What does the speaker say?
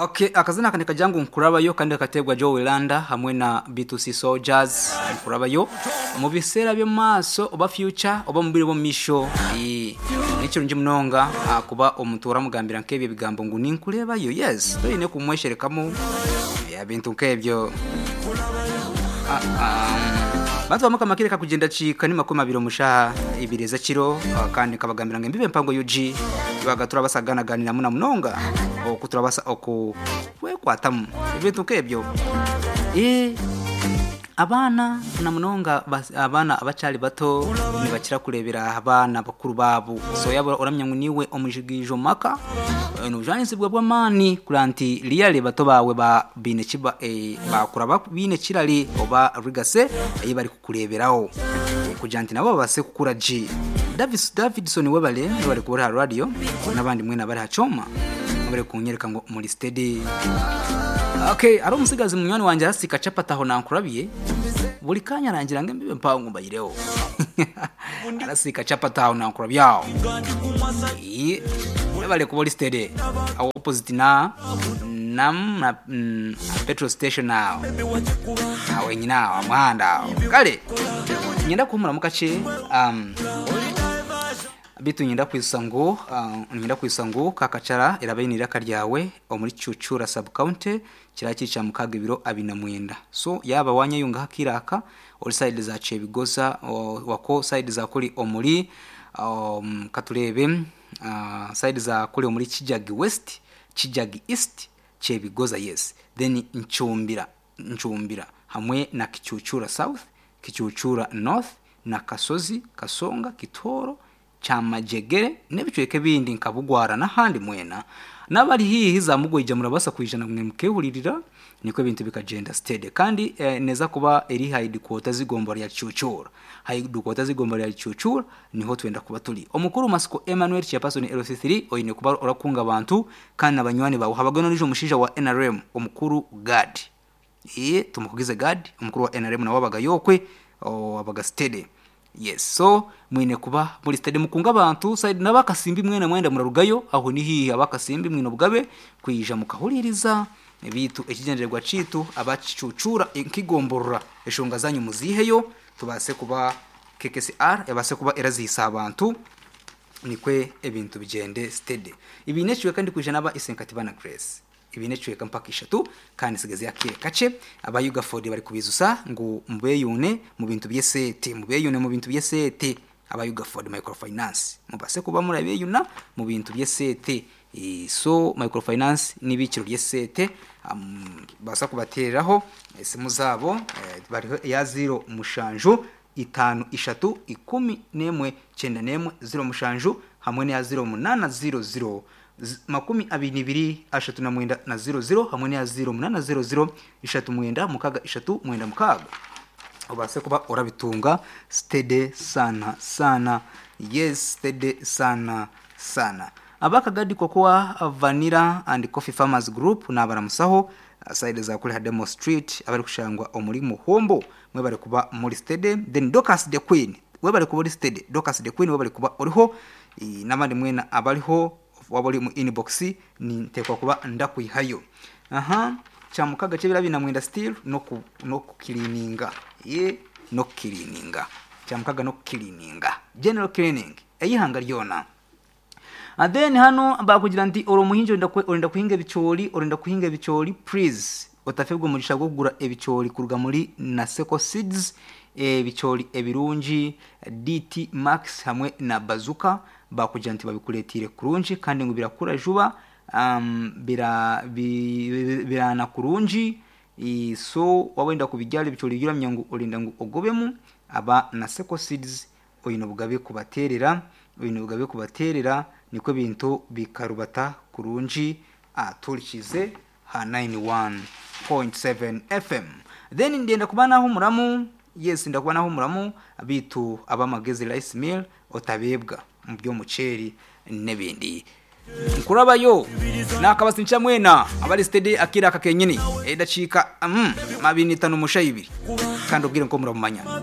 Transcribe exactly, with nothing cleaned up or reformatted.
Okay, akazina aka nikagira ngu nkurabayo kandi kateebwa Joe Landa hamwe na B two C Soldiers. Nkurabayo mu biseera by'omu maaso oba future oba mu bwire bw'omu maisho. Eh, nekirungi munonga ah, kuba omuntu oramugambira nk'ebyo ebigambo ngu ninkurebayo. Yes, toine kumwesherekamu eh, ebintu nk'ebyo. Ah, ah, bantu bamwe kireka kugenda kiika ni makumi abiri omushaha ibiri ez'ekiro ah, kandi nkabagambira ngu embibe empango U G tubaga turabasaganaganiramu na munonga oku turabasa oku kwekwatamu ebintu nk'ebyo. Eh, abaana na munonga bas- abaana abakyali bato nibakira kurebera abaana bakuru baabo. So yaba oramya ngu niwe omujigiijo maka, eh, nobujwanizibwa bw'amaani kureba nti riyale bato baawe ba biine kiba eh, bakura ba- biine kirari oba rigase ei bari kukureberaho. Eh, kugira nti nabo babase kukura gye. Davis, Davidson, webale bari kuba aha radio n'abandi mwena bari hacoma bari kunyereka ngo muri steady. Okay, ari umusigazi munywani wanjye arasika capati aho nankurabiye buri kanya arangira ngo embibe mpango mbayireho. Arasika capati aho nankurabiye aho. Iye, bari kuba uri steady aho opposite na nam na mm, petrol station aho aho wenyine aho muhanda aho kale nyenda kuhumura mu kace um, bitu nyenda kwisa ngu uh, nyenda kwisa ngu Kakacara iraba iraka ryawe omuri Chuchura sub county kira kica mukaga ibiro abina mwenda. So yaba wanyayunga hakiraka ori side za Chebigoza o- wako side za kuri omuri um, katurebe uh, side za kuri omuri Kijagi West, Kijagi East, Chebigoza, yes, then Nchumbira Nchumbira hamwe na Kichuchura South, Kichuchura North na Kasozi, Kasonga, Kitoro, Kyamajegere n'ebicweka ebindi nka Bugwara n'ahandi mwena n'abari hihi za Mugwija murabasa kwijana mwe mukehuririra niko ebintu bikagenda steady. Kandi eh, neza kuba eri headquarters z'igombo rya Chuchura. Headquarters z'igombo rya Chuchura niho twenda kuba turi. Omukuru Masiko Emmanuel, chairperson L C three, oyine kuba orakunga abantu kandi abanywani bawe habagano n'ejo omushaija wa N R M omukuru Gad. Iye tumukugize Gad, omukuru wa N R M nawe abaga yokwe o, abaga steady. Yes, so mwine kuba muri steady mukunga abantu side n'abakasimbi mwena mwenda murarugayo aho ni hihi abakasimbi mwine obugabe kwija mukahuririza ebitu ekigendererwa citu abakicucura nkigomborora eshonga zanyu muziheyo tubase kuba K K C R ebase kuba erazihisa abantu nikwe ebintu bigende steady. Ibi necwe kandi kuja naba isenkati bana Grace ibi necweka mpaka ishatu kandi sigaze yakire kace. Abayuga Ford bari kubizusa ngo mbeyune mu bintu byesete, mubeyune mu bintu byesete. Abayuga Ford Microfinance mubase kuba murabeyuna mu bintu byesete. Eh, so microfinance n'ibikiro byesete um, basa kubatereraho esimu zabo eh, bariho ya zero mushanju itanu ishatu ikumi nemwe cyenda nemwe zero mushanju hamwe n'iya zero munana zero zero z- makumi abiri n'ibiri ashatu na mwenda na zero zero hamwe n'iya zero munana zero zero ishatu mwenda mukaga ishatu mwenda mukaga ubase kuba urabitunga steady sana sana. Yes, steady sana sana. Abakagadi Cocoa, Vanilla and Coffee Farmers Group nabaramusaho side za kuri Hademo Street abari kushangwa omuri Muhombo mwe bari kuba muri steady. Then Dorcas the Queen, we bari kuba muri steady. Dorcas the Queen, we bari kuba oriho eh, n'abandi mwena abariho waba uri mu inbox ni ntekwa kuba ndakwihayo aha cyamukaga cyo birabina mwenda still no ku, no kukilininga ye no kukilininga cyamukaga no kukilininga, general cleaning eyihanga ryona. And then hano bakugira nti uri umuhinzi urenda kwe- urenda kuhinga ebicori, urenda kuhinga ebicori, please otafebwa omugisha gwo kugura ebicori kuruga muri Naseko Seeds. Ebicori ebirungi D T Max hamwe na Bazuka bakugira nti babikuretire kurungi kandi ngo birakura juba um, bira, bi, bi- birana kurungi. I- so wawenda kubigyara ebicori biramya ngu orinda ngu ogobemu aba Naseko Seeds oyine obugabe kubaterera, oyine obugabe kubaterera niko ebintu bikarubata kurungi aturikize ha ninety-one point seven F M. Then ndenda kuba naho muramu. Yes, ndakuba naho muramu bitu abamagezi rice mill otabebwa mu by'omuceeri n'ebindi. Nkurabayo nakabasi mwena abari steady akira aka kenyini edaciika mm, mabini itanu musha ibiri kandi ubwire nko muramumanya.